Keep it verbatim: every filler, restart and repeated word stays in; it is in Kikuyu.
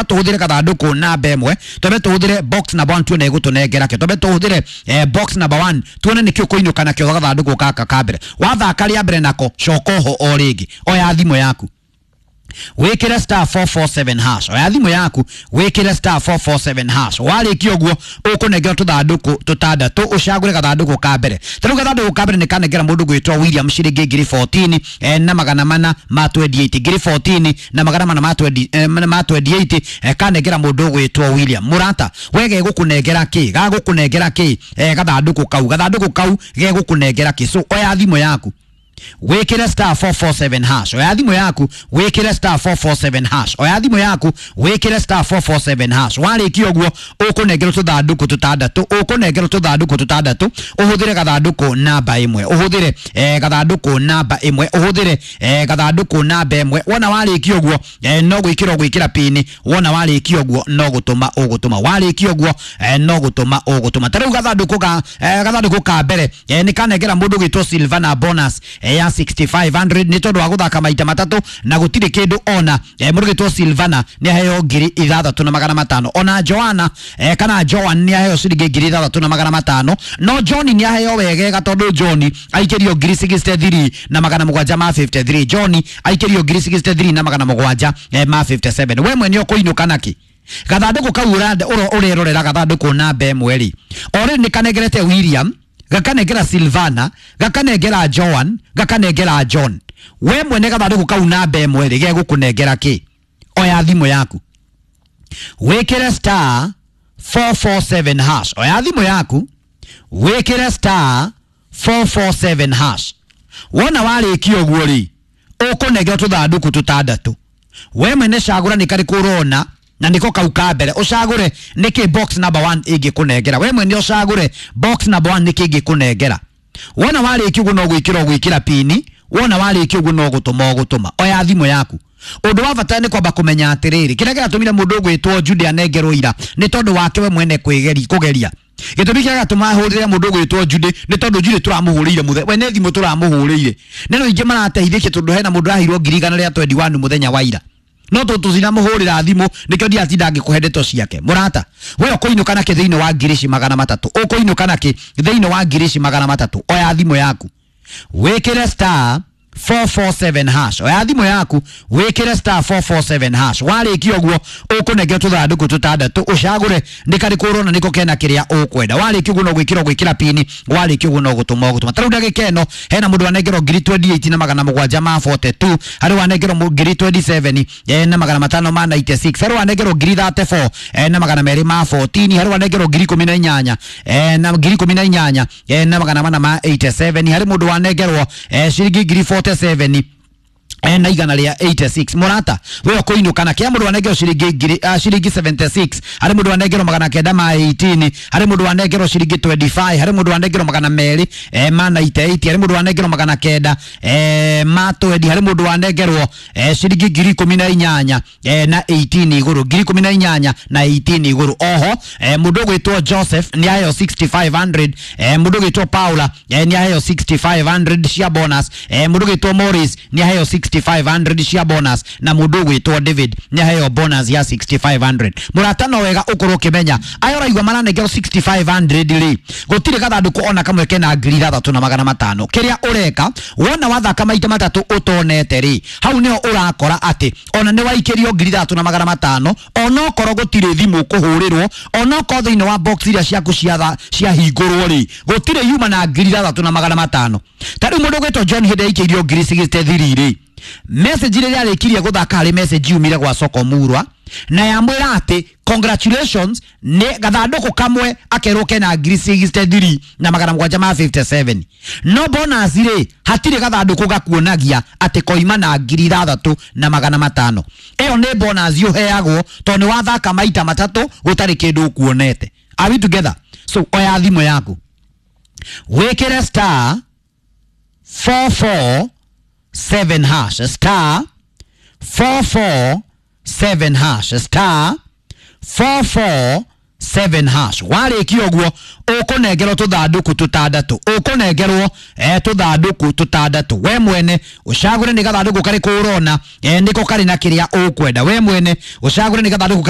Tũhũthĩre gathandũkũ namba ĩmwe, twambe tũhũthĩre box number one tuone ĩgũtũnengera kĩ. Twambe tũhũthĩre eh, box number one tuone nĩkĩ ũkũinũka nakĩo. Gathandũkũ gaka ka mbere wathaka rĩa mbere nako, coka oho o rĩngĩ. Oya thimũ yaku, wikire star four four seven hash. Oya thimũ yaku, wikire star four four seven hash. Warĩkia ũguo, ũkũnengera tũthandũkũ tũtandatũ, ũcagũre gathandũkũ ka mbere. Ta rĩu gathandũkũ ka mbere nĩ kanengera mũndũ gwĩtwo William ciringi ngiri fourteen eh, na magana mana ma twenty-eight, ngiri fourteen na magana mana ma twenty eh, ma twenty-eight eh, kanengera mũndũ gwĩtwo William. Mũrata, we gegũkũnengera kĩ? Gagũkũnengera kĩ eh, gathandũkũ kau? Gathandũkũ kau gegũkũnengera kĩ? So oya thimũ yaku, wikire star four four seven hash. Oya thimũ yaku, wikire star four four seven hash. Oya thimũ yaku, wikire star four four seven hash. Warĩkia ũguo, ũkũnengerwo tũthandũkũ tũtandatũ, ũkũnengerwo tũthandũkũ tũtandatũ, ũhũthĩre gathandũkũ namba ĩmwe, ũhũthĩre eh, gathandũkũ namba ĩmwe, ũhũthĩre eh, gathandũkũ namba ĩmwe. Wona warĩkia ũguo, eh, no gwĩkĩra ũgwĩkĩra pini. Wona warĩkia ũguo, no gũtũma ũgũtũma. Warĩkia ũguo, eh, no gũtũma ũgũtũma. Ta rĩu gathandũkũ ka eh, gathandũkũ ka mbere eh, nĩ kanengera mũndũ gwĩtwo Silvana bonus eh, ya six thousand five hundred nĩ tondũ wa gũthaka maita matatũ na gũtirĩ kĩndũ ona. eh, mũndũ gwĩtwo Silvana nĩ aheo ngiri ithathatũ na magana matano. Ona Joanna eh, kana Joan nĩ aheo ciringi ngiri ithathatũ na magana matano. No John nĩ aheo wegega, tondũ John aikĩrio ngiri sixty-three na magana mũgwanja ma fifty-three. John aikĩrio ngiri sixty-three na magana mũgwanja eh, ma fifty-seven. We mwene ũkũinũka nakĩ? Gathandũkũ kau ũrerorera, gathandũkũ namba ĩmwe rĩ, o rĩu nĩ kanengerete William, gakanengera Silvana, gakanengera Joan, gakanengera John. We mwene gathandũkũ kau namba ĩmwe rĩ, gegũkũnengera kĩ? Oya thimũ yaku, wĩkĩre star four four seven hash. Oya thimũ yaku, wĩkĩre star four four seven hash. Wona warĩkia ũguo rĩ, ũkũnengera tũthandũkũ tũtandatũ. We mwene cagũra nĩ karĩkũ ũrona na niko kau ka mbere. Ũcagũre nĩkĩ box number one ĩngĩkũnengera. We mwene ũcagũre box number one nĩkĩ ĩngĩkũnengera. Wona warĩkia ũguo, no gwĩkĩra ũgwĩkĩra pini. Wona warĩkia ũguo, no gũtũma ũgũtũma. Oya thimũ yaku. Ũndũ wa bata nĩ kwamba kũmenya atĩrĩrĩ, kĩrĩa kĩratũmire mũndũ ũgwĩtwo Jude anengerwo ira nĩ tondũ wake we mwene kwĩgeri kũgeria. Gĩtũmi kĩrĩa gĩatũma hũrĩre mũndũ ũgwĩtwo Jude nĩ tondũ Jude tũramũhũrĩire mũthenya we nĩ thimũ tũramũhũrĩire. Neno ingĩ marateithĩkie, tondũ hena mũndũ aheirwo ngiri igana rĩa twenty-one mũthenya wa ira, no tũ tũcinamũhũrĩra thimũ, nĩkĩo ndiratinda ngĩkũhe ndeto ciake. Mũrata, we ũkũinũka nakĩ thĩinĩ wa ngiri ici magana matatũ? Ũkũinũka nakĩ thĩinĩ wa ngiri ici magana matatũ? Oya thimũ yaku, wĩkĩre star four four seven hash. Oya thimũ yaku, wĩkĩre star four four seven hash. Warĩkia ũguo, ũkũnengera tũthandũkũ tũtandatũ, ũcagũre nĩ karĩkũ ũrona nĩko kena kĩrĩa ũkwenda. Warĩkia ũguo, no gwĩkĩra ũgwĩkĩra pini. Warĩkia ũguo, no gũtũma ũgũtũma. Ta rĩu ndagĩka ĩno hena mũndũ wanengerwo ngiri twenty-eight na magana mũgwanja ma forty-two, harĩ wanengerwo mũ- ngiri twenty-seven eh, na magana matano ma ninety-six, harĩ wanengerwo ngiri thirty-four eh, na magana merĩ ma fourteen, harĩ wanengerwo ngiri ikũmi na inyanya eh, na ngiri ikũmi na inyanya eh, na magana mana ma eighty-seven, harĩ mũndũ wanengerwo eh, ciringi ngiri forty-seven eh, na igana rĩa eighty-six. Mũrata, we ũkũinũka na kĩa? Mũndũ wanengerwo ciringi ngiri uh, ciringi seventy-six, harĩ mũndũ wanengerwo magana kenda ma eighteen, harĩ mũndũ wanengerwo ciringi twenty-five, harĩ mũndũ wanengerwo magana merĩ eh, ma ninety-eight, harĩ mũndũ wanengerwo magana kenda eh, ma twenty, harĩ mũndũ wanengerwo eh, ciringi ngiri ikũmi na inyanya eh, na eighteen igũrũ, ngiri ikũmi na inyanya na eighteen igũrũ. Oho eh, mũndũ ũgwĩtwo Joseph nĩ aheo six thousand five hundred, eh, mũndũ ũgwĩtwo Paula eh, nĩ aheo six thousand five hundred cia bonus, eh, mũndũ ũgwĩtwo Morris nĩ aheo six thousand five hundred cia bonus, na mũndũ ũgwĩtwo David nĩ aheo bonus ya six thousand five hundred. Mũrata, no wega ũkorwo ũkĩmenya aya ũraigua maranengerwo six thousand five hundred rĩ, gũtirĩ gathandũkũ ona kamwe kena ngiri ithathatũ na magana matano. Kĩrĩa ũreka, wona wathaka maita matatũ ũtonete rĩ, hau nĩho ũrakora atĩ ona nĩ waikĩrio ngiri ithathatũ na magana matano, onokorwo gũtirĩ thimũ kũhũrĩrwo, onokorwo thĩinĩ wa box iria ciaku ciatha ciahingũrwo rĩ, gũtirĩ yuma na ngiri ithathatũ na magana matano. Ta rĩu mũndũ ũgwĩtwo John, hĩndĩ aikĩirio ngiri sixty-three rĩ, message rĩrĩa arĩkirie gũthaka, harĩ message yumire gwa Soko Murwa na yamwĩra atĩ congratulations, nĩ gathandũkũ kamwe akerwo kena ngiri sixty-three na magana mũgwanja ma fifty-seven. No bonus rĩ, hatirĩ gathandũkũ gakuonagia atĩ koima na ngiri ithathatũ na magana matano. Ĩyo nĩ bonus ũheagwo tondũ nĩ wathaka maita matatũ gũtarĩ kĩndũ ũkuonete. Are we together? So oya thimũ yaku, wĩkĩre star four four seven hash, star four four seven hash, star four four seven hash. Warĩkia ũguo ũkũnengerwo tũthandũkũ tũtandatũ, ũkũnengerwo eh, tũthandũkũ tũtandatũ. We mwene ũcagũre nĩ gathandũkũ karĩkũ ũrona eh, nĩko karĩ na kĩrĩa ũkwenda. We mwene ũcagũre nĩ gathandũkũ karĩkũ.